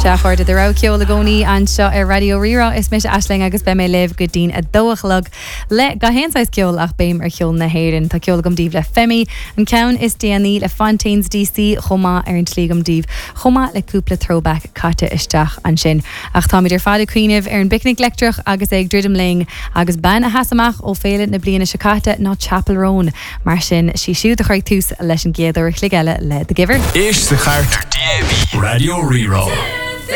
Sea, a chairde, do rogha ceoil i gcónaí anseo ar Raidió Rí-Rá. Is mise Aisling agus beidh mé libh go dtí'n 2 a chlog le gach aon saghas ceoil ach béim ar cheol na hÉireann. Tá ceol agam daoibh le Femi, an ceann is déanaí le Fontaines DC chomh maith ar an tslí agam daoibh, chomh maith le cúpla throwback caite isteach ansin. Ach táimid ar fad ag cuimhneamh ar an bPicnic Leictreach agus é ag druidim linn agus bean a sheas amach ó féile na bliana seo caite ná Chappell Roan. Mar sin, sí siúd a chuirfidh tús leis an gcéad uair a chloig eile le The Giver. Éist sa chairt ar DAB Raidió Rí-Rá.